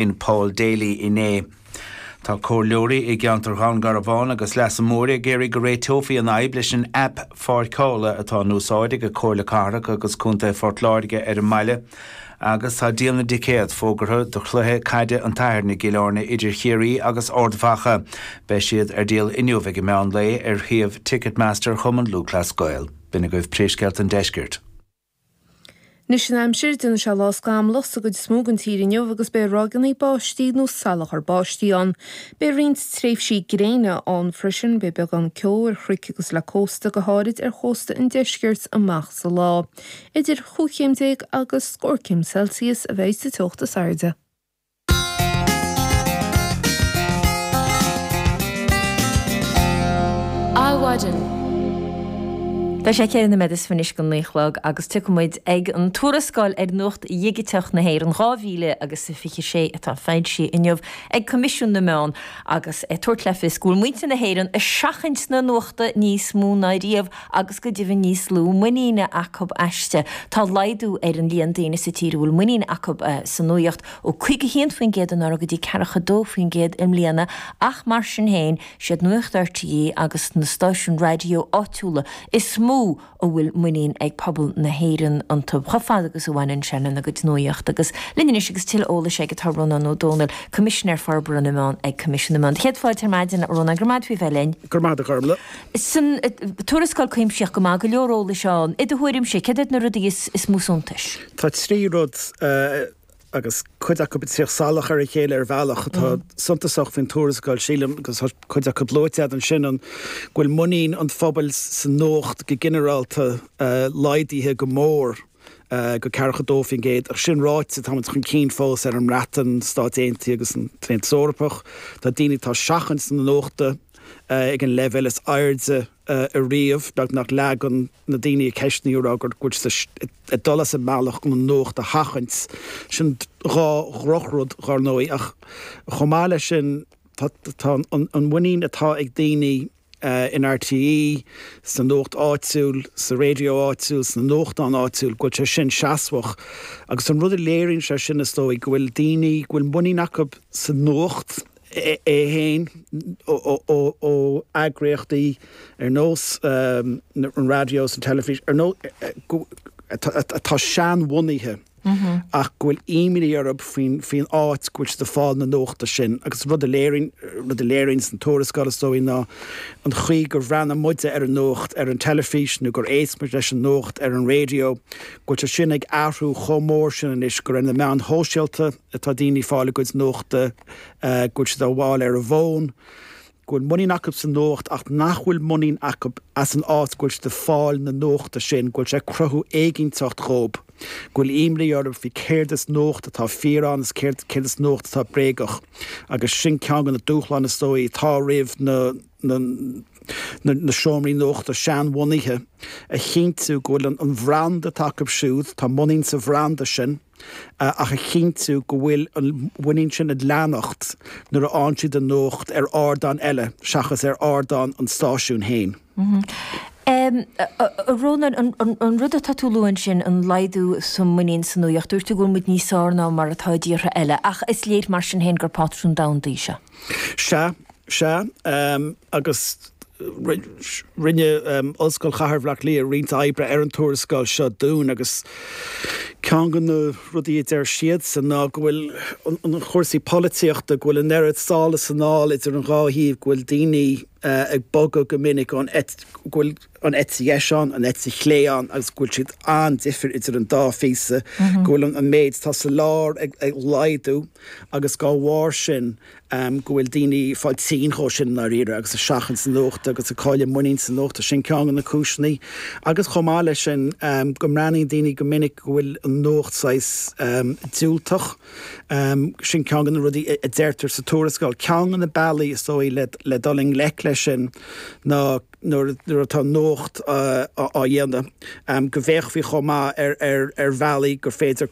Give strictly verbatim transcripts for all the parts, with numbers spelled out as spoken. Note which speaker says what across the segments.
Speaker 1: in Paul Daly inné. Tá comhairleoirí i gceantar Dhún Garbhán agus Leasa Mór ag iarraidh go réiteofaí an fhadhb leis an aip pháirceála atá in úsáid ag Comhairle Cathrach agus Contae Phort Láirge ar an mbaile, agus tá díol na dticéad fógartha do chluiche caide an tSathairn i gCill Airne idir Chiarraí agus Ard Mhacha. Beidh siad ar díol inniu ag an meán lae ar shuíomh Ticketmaster Chumann Lúthchleas Gael. B'in agaibh Príomhscéalta an Deiscirt.
Speaker 2: Anois an aimsir, déanfaidh sé lá scamallach sa gcuid is mó den tír inniu agus beidh ráigeanna báistí nó salachar báistí ann. Beidh roinnt tréimhsí gréine ann freisin, beidh beagán ceo ar chnoic agus le cósta, go háirid ar chósta an deiscirt amach sa lá. Idir chúig chéim déag agus scór céim Celsius a bheidh sa teocht is airde.
Speaker 3: Adhmhaidin.
Speaker 4: Tá sé ceithre nóiméad is fiche anois go naoi a chlog agus tiocfaidh muid ag an tuarascáil ar Nuacht Dhigiteach na hÉireann dhá mhíle agus a fiche sé atá foilsithe inniu ag Coimisiún na Meán agus ag tabhairt le fios go bhfuil muintir na hÉireann ag seachaint na nuachta níos mó ná riamh agus go deimhin níos lú muiníne acu aisti. Tá laghdú ar an líon daoine sa tír a bhfuil muinín acu sa nuaíocht ó caoga a haon faoin gcéad anuraidh go dtí ceathracha dó faoin gcéad i mbliana ach mar sin féin siad Nuacht RTÉ agus na stáisiúin raidió áitiúla is mó a bhfuil muinín ag pobal na hÉireann iontu, chomh fada agus a bhaineann sé lena gcuid nuaíochta. Agus linn anois agus tuilleadh eolais aige tá Rónán Ó Domhnaill, Coimisinéir Forbartha na Meán ag Coimisiún na Meán. Céad fáilte ar maidin, a Rónáin, go raibh maith agat faoi bheith linn.
Speaker 5: Go raibh maith agat, a Ghormlaith.
Speaker 4: San tuarascáil cuimsitheach go maith, go leor eolais ann. I do thuairimse, céard iad na rudaí is mó suntais?
Speaker 5: Tá trí rud agus cuid acu ag tíocht salach ar a chéile ar bhealach atá suntasach faoin tuarascáil, sílim, agus tá cuid acu luaite agat ansin, an go bhfuil muinín an phobail sa nuacht go ginearálta laghdaithe go mór go ceathracha dó faoin gcéad. Ach sin ráite, táimid chun cinn fós ar an mBreatain, Stáit Aontaithe agus an tAontas Eorpach. Tá daoine atá ag seachaint na nuachta ag an leibhéal is airde ariamh, beagnach leath de na daoine a ceistníodh ag rá go bhfuil siad ag dul as a mbealach chun an nuacht a sheachaint. Sin dhá dhrochrud, dar ndóigh, ach chomh maith leis sin, tá an mhuinín atá ag daoine in RTÉ, sa nuacht áitiúil, sa raidió áitiúil, sna nuachtáin áitiúil, go bhfuil sé sin seasmhach. Agus an rud a léiríonn sé sin, is dóigh, go bhfuil daoine, go bhfuil muinín acu sa nuacht, é féin ó eagraíochtaí ar nós an raidió is an teilifís, ar nós, atá seanbhunaithe ach go bhfuil imní orthu faoin faoin áit go bhfuil siad ag fáil na nuachta sin. Agus rud a léiríonn, rud a léiríonn an tuarascáil is dóigh ná an chaoi gur bhreathnaigh muide ar an nuacht ar an teilifís nó gur éist muid leis an nuacht ar an raidió, go bhfuil sé sin ag athrú chomh mór sin anois gur ar na meáin shóisialta atá daoine ag fáil a gcuid nuachta, go bhfuil siad á fháil ar a bhfón, go bhfuil muinín acu sa nuacht ach nach bhfuil muinín acu as an áit go bhfuil siad ag fáil na nuachta sin, go bhfuil sé ag cruthú éiginnteacht dhóibh, go bhfuil imní orthu faoi céard is nuacht atá fíor ann is céard céard is nuacht atá bréagach agus sin ceann de na dúshláin is dóigh atá roimh na na na seomraí nuachta seanbhunaithe, a chinntiú go bhfuil an bhranda atá acu siúd, tá muinín sa bhranda sin. ach a chinntiú go bhfuil an mhuinín sin ag leanacht nuair a fhaigheann siad an nuacht ar ardán eile seachas ar ardán an stáisiúin féin.
Speaker 4: A Rónáin, an rud atá tú a lua ansin, an laghdú sa muinín sa nuaíocht, dúirt tú go bhfuil muid níos fearr ná mar atá i dtíortha eile, ach is léir mar sin féin gur pátrún domhanda í seo.
Speaker 5: Sea, sea, agus rinne Ollscoil Chathair Bhaile Átha Cliath roinnt oibre ar an tuarascáil seo dúinn agus ceann de na rudaí a deir siadsan ná go bhfuil an chúrsaí polaitíochta, go bhfuil an oiread sall is anall idir an dhá thaobh, go bhfuil daoine ag bogadh go minic ón go bhfuil an eite dheis ann, an eite chlé ann agus go bhfuil siad an-difir idir an dá phíosa, go bhfuil an méid atá sa lár ag laghdú agus dá bharr sin go bhfuil daoine ag fáil tinn dhó sin i ndáiríre agus ag seachaint na nuachta agus ag cailleadh muinín sa nuacht. Sin ceann de na cúiseanna. Agus chomh maith leis sin, go mbreathnaíonn daoine go minic go bhfuil an nuacht saghas diúltach. Sin ceann de na rudaí a deirtear sa tuarascáil. Ceann de na bealaí, is dóigh, le dul i ngleic leis sin ná nuair atá nuacht á dhéanamh, go bhféachfaí chomh maith ar bhealaí gur féidir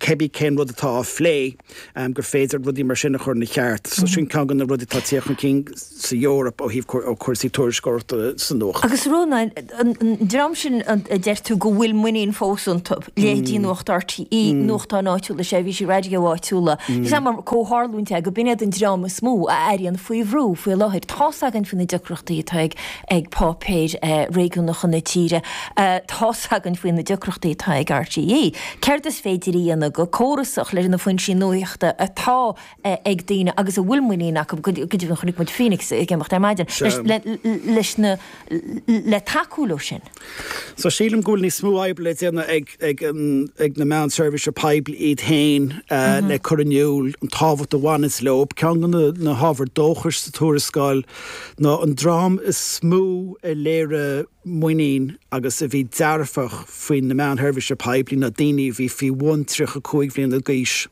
Speaker 5: cibé cén rud atá á phlé, gur féidir rudaí mar sin a chur ina cheart. So sin ceann de na rudaí atá ag tíocht chun cinn sa Eoraip ó thaobh ó cúrsaí tuairisceoireachta sa nuacht.
Speaker 4: Agus Rónán, an dream sin a deir tú go bhfuil muinín fós iontu, leithéidí Nuacht RTÉ, nuachtáin áitiúla, seirbhísí raidió áitiúla, is é mar comhtharlúint é go b'in iad an dream is mó a airíonn faoi bhrú faoi láthair. Tá's againn faoi na deacrachtaí atá ag ag páipéir réigiúnacha na tíre, tá's againn faoi na deacrachtaí atá ag RTÉ. Céard is féidir a dhéanamh go córasach leis na foinsí nuachta atá ag daoine agus a bhfuil muinín acu, go deimhin chonaic muid Phoenix ag imeacht ar maidin, leis na le tacú leo sin?
Speaker 5: So sílim go bhfuil níos mó oibre le déanamh ag ag ag na meáin seirbhíse poiblí iad féin le cur in iúl an tábhacht a bhaineanns leo. Ceann de na hábhair dóchais sa tuarascáil ná an dream is mó a léirigh muinín agus a bhí dearfach faoi na meáin sheirbhíse poiblí ná daoine a bhí faoi bhun tríocha cúig bhliana d'aois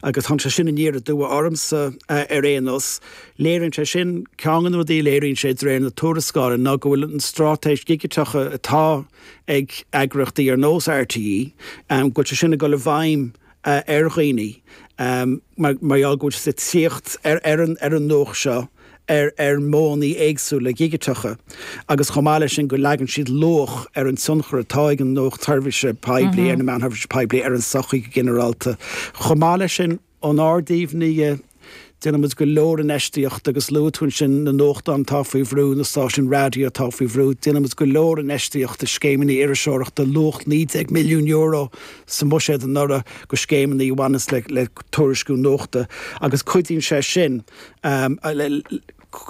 Speaker 5: agus tháinig sé sin aniar aduaidh ormsa ar aon nós. Léiríonn sé sin, ceann de na rudaí a léiríonn sé de réir na tuarascála ná go bhfuil an straitéis dhigiteach atá ag eagraíochtaí ar nós RTÉ, go bhfuil sé sin ag dul i bhfeidhm ar dhaoine mar gheall go bhfuil siad ag tíocht ar an nuacht seo ar ar mhodhanna éagsúla dhigiteacha agus chomh maith leis sin go leagann siad luach ar an tionchar atá ag an nuacht sheirbhíse poiblí, ar na meáin sheirbhíse poiblí, ar an tsochaí go ginearálta. Chomh maith leis sin, ónár dtaobh-ne dhe, déanann muid go leor infheistíochta agus luaigh tú ansin na nuachtáin atá faoi bhrú, na stáisiúin raidió atá faoi bhrú, déanann muid go leor infheistíochta i scéimeanna iriseoireachta, luach naoi déag milliún euro sa mbuiséad anuraidh go scéimeanna a bhaineas le le tuairisciú nuachta agus cuidíonn sé sin le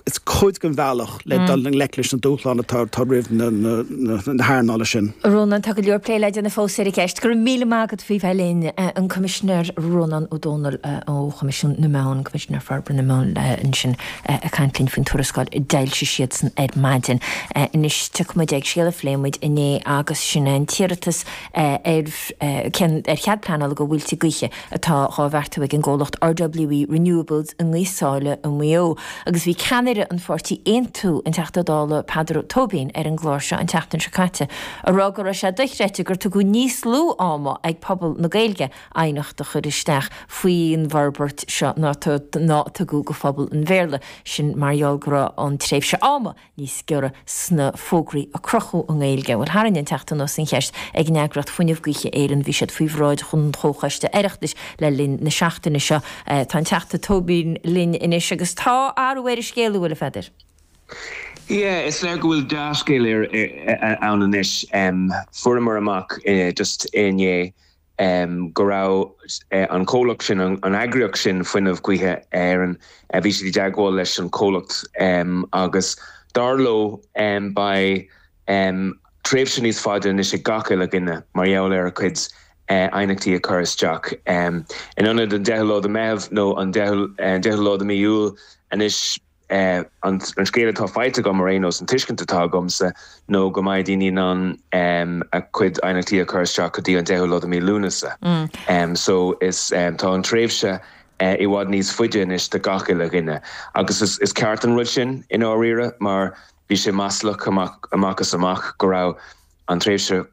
Speaker 5: is cuid den bhealach le dul i ngleic leis na dúshláin atá atá roimh na na hearnála sin.
Speaker 4: Rónán, tá go leor plé le déanamh fós ar an gceist. Go raibh míle maith agat faoi bheith linn, an Coimisinéir Rónán Ó Domhnaill ó Choimisiún na Meán, Coimisinéir Forbartha na Meán ansin ag caint linn faoin tuarascáil a d'fhoilsigh siadsan ar maidin. Anois tiocfaidh muid ag scéal a phléigh muid inné agus sin é an t-iarratas ar ar chead pleanála do mhuilte gaoithe atá dhá bheartú ag an gcomhlacht RWE Renewables i nGaoth Sáile i Maigh Eo agus bhí ceannaire an pháirtí Aontú, an Teachta Dála Peadar Tóibín ar an gclár seo an tseachtain seo caite ag rá go raibh sé dochreidte gur tugadh níos lú ama ag pobal na Gaeilge aighneacht a chur isteach faoin bhforbairt seo ná a tugadh go phobal an Bhéarla, sin mar gheall go raibh an tréimhse ama níos giorra sna fógraí a crochadh i nGaeilge. Bhuel, tharraing an Teachta anuas an cheist ag an eagraíocht Fuinneamh Gaoithe Éireann, bhí siad faoi bhráid an Chomhchoiste Oireachtais le linn na seachtaine seo. Tá an Teachta Tóibín linn anois agus tá athrú ar an scéal, an bhfuil, a Pheadair?
Speaker 3: Yeah, is léir go bhfuil dea-scéal ann anois. Fuaireamar amach just inné go raibh an comhlacht sin, an eagraíocht sin Fuinneamh Gaoithe Éireann, bhí siad i dteagmháil leis an chomhlacht agus dar leo beidh tréimhse níos faide anois ag gach uile dhuine mar gheall ar a cuid aighneachtaí a chur isteach. In ionad an deichiú lá de Meitheamh nó an deichiú lá de mí Iúil anois, An scéal atá faighte agam ar aon nós, an tuiscint atá agamsa nó go mbeidh daoine in ann a gcuid aighneachtaí a chur isteach go dtí an deichiú lá de mí Lúnasa. So is tá an tréimhse i bhfad níos faide anois do gach uile dhuine. Agus is ceart an rud sin i ndáiríre mar bhí sé maslach amach is amach go raibh an tréimhse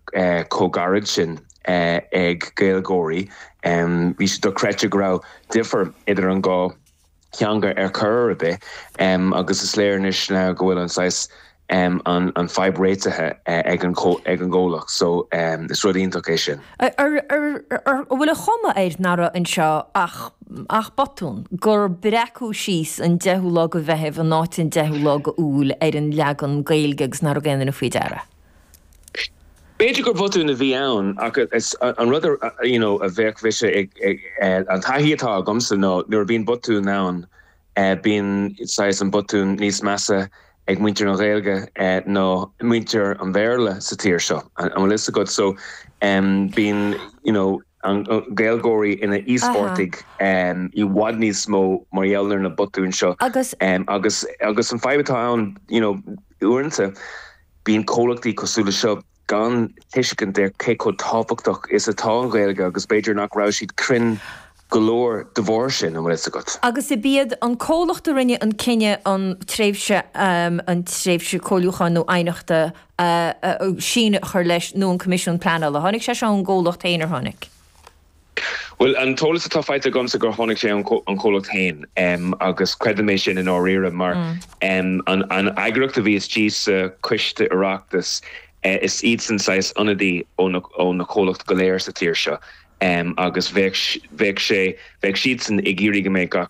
Speaker 3: chomh gairid sin ag Gaeilgeoirí. Bhí sé dochreidte go raibh difear idir an dhá theanga ar chor ar bith agus is léir anois now go bhfuil an saghas an fadhb réitithe ag an ag an gcomhlacht so is rud iontach é sin.
Speaker 4: An bhfuil an chuma air nach raibh anseo ach ach botún, gur breacadh síos an deichiú lá de Mheitheamh in áit an deichiú lá de Iúil ar an leagan Gaeilge agus nach raibh aon duine faoi deara?
Speaker 3: B'fhéidir gur botún a bhí ann ach is an rud a you know a bheadh mise ag an taithí atá agamsa ná nuair a bhíonn botún ann bíonn saghas an botún níos measa ag muintir na Gaeilge ná muintir an Bhéarla sa tír seo. An bhfuil fhios agat? So bíonn you know an Gaeilgeoirí ina íospartaigh i bhfad níos mó mar gheall ar na botúin seo
Speaker 4: Agus
Speaker 3: agus agus an fadhb atá ann you know uaireanta bíonn comhlachtaí cosúil le seo gan tuiscint ar cé chomh tábhachtach is atá an Ghaeilge agus b'fhéidir nach raibh siad cruinn go leor de bharr sin, an bhfuil fhios agat.
Speaker 4: Agus ab iad an comhlacht a rinne an cinneadh an tréimhse an tréimhse comhairliúcháin nó aighneachta síneadh a chur leis nó an Coimisiún Pleanála. Tháinig sé seo ón gcomhlacht féin ar tháinig?
Speaker 3: Well an t-eolas atá faighte agamsa gur tháinig sé an comhlacht féin um, agus creidim é sin in áirithe mar mm. um, an, an eagraíocht a bhí istigh sa choiste Oireachtais uh, is iad san saghas ionadaí ó na, ó na comhlachtaí go léir sa tír seo. Um, agus bheadh sé bheadh siad san ag iarraidh go mbeadh gach